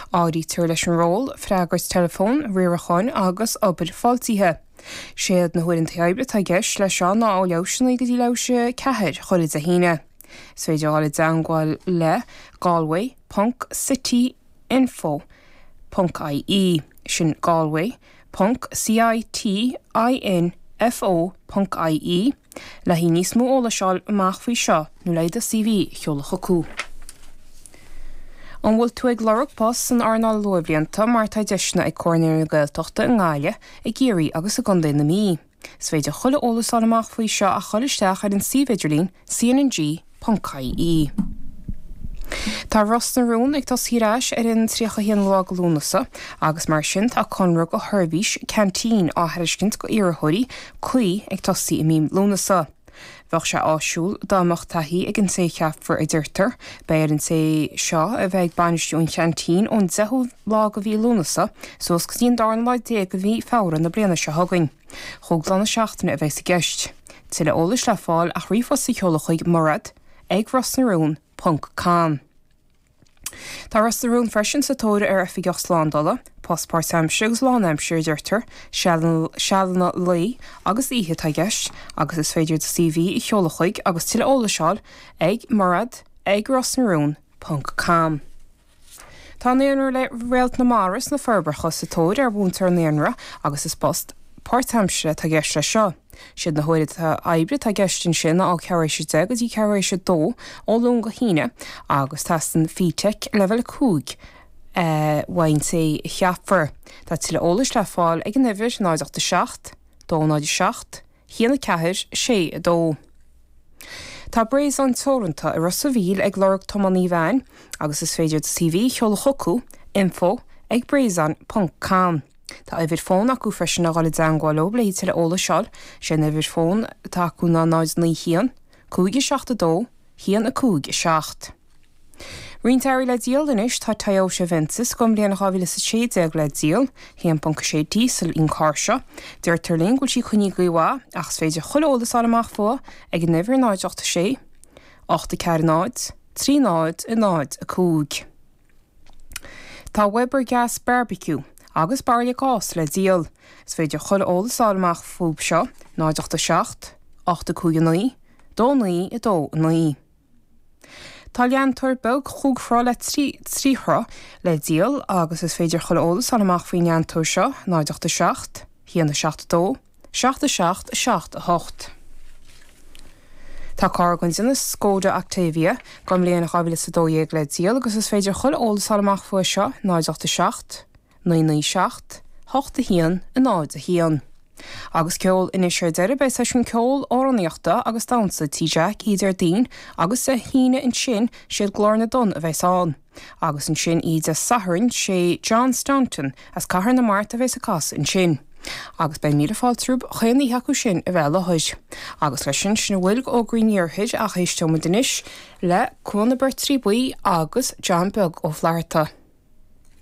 Áirítear leis an ról, freagairt teileafóin, riaracháin agus obair fáiltithe. Séad na huaireanta oibre atá i gceist leis seo ná ó leathuair tar éis a 9 go dtí leathuair tar éis a 4 chuile Dé hAoine. Is féidir dhul i dteangmháil le Galway ponc city info ponc ie, sin Galway ponc C-I-T-I-N-F-O ponc I-E, le haghaidh níos mó eolais a fháil amach faoi seo nó le do CV a sheoladh chucu. An bhfuil tú ag lorg post san earnáil luathbhlianta mar tá deiseanna ag Comhar Naíonraí na Gaeltachta i nGaillimh, i gCiarraí agus i gContae na Mí. Is féidir chuile eolas a fháil amach faoi seo ach dhul isteach ar an suíomh idirlín cnng.ie. Tá Ros na Rún ag tosaí ar ais ar an 31 lá de Lúnasa agus mar sin tá conradh do sheirbhís ceaintín á thairiscint go iarrthóirí cuí ag tosaí i mí Lúnasa. Bheadh sé áisiúil dá mbeadh taithí ag an té a cheapfar a deirtear. Beidh ar an té seo a bheith ag bainistiú an cheaintín ón 10ú lá de mhí Lúnasa suas go dtí an darna lá déag de mhí Feabhra na bliana seo chugainn. Chúig lá na seachtaine a bheas i gceist. Tuilleadh eolais le fáil ach ríomhphost a sheoladh chuig mairead ag rosnarún ponc com. Tá Ros na Rún freisin sa tóir ar Oifigeach Slándála, post páirtaimseartha agus lánaimseartha a deirtear, sealanna lae agus oíche atá i gceist, agus is féidir do CV a sheoladh chuig agus tuilleadh eolais a fháil ag mairead ag rosnarún ponc com. Tá Naíonra Réalt na Mara sna Forbacha sa tóir ar mhúinteoir naíonra agus is post páirtaimseartha atá i gceist leis seo. Siad na huaireanta oibre atá i gceist ansin ná ó ceathrú éis a 10 go dtí ceathrú éis a 2 ó Luan go hAoine agus teastaíonn FETAC leibhéal 5 uaidh an té a cheapfar. Tá tuilleadh eolais le fáil ag an uimhir 0 8 7 2 0 7 1 4 6 2. Tá Breizon Teoranta i Ros a' Mhíl ag lorg tiománaí veain agus is féidir do CV a sheoladh chucu, info ag breizon ponc com. Tá uimhir fóin acu freisin le dhul i dteangmháil leo le tuilleadh eolais a fháil. Sé an uimhir fóin atá acu ná 0 9 1 5 7 2 1 5 7. Roinnt earraí le díol anois, tá Toyota Avensis don bhliain 2016 le díol, 1.6 díosal í an carr seo. Deirtear linn go bhfuil sí coinnithe go mhaith ach is féidir chuile eolas a fháil amach fúithi ag an uimhir 0 8 6 8 4 0 3 0 0 5. Tá Weber Gas Barbecue agus bairille gáis le díol. Is féidir chuile eolas a fháil amach fúthu seo, 0 8 7 8 5 9 2 9 2 9. Tá leantóir beag chúig throigh le trí throigh le díol agus is féidir chuile eolas a fháil amach faoin leantóir seo, 0 8 7 1 7 2 7 7 7 8. Tá carr den déanamh Skoda Octavia don bhliain 2012 le díol agus is féidir chuile eolas a fháil amach faoi seo, 0 8 7 9 9 7 8 1 0 1. Agus ceol anois ar deireadh, beidh seisiún ceoil, amhránaíochta agus damhsa Tí Jack oíche Déardaoin agus Dé hAoine ansin siad Glór na dTonn a bheas ann. Agus ansin oíche Dé Sathairn, sé John Staunton as Cathair na Mart a bheas ag casadh ansin. Agus beidh míle fáilte romhaibh chaon oíche acu sin a bheith i láthair. Agus leis sin, sin a bhfuil d'fhógraí an iarthair ach éisteoimid anois le Cuan na Beirtrí Buí agus John Beag Ó Flatharta.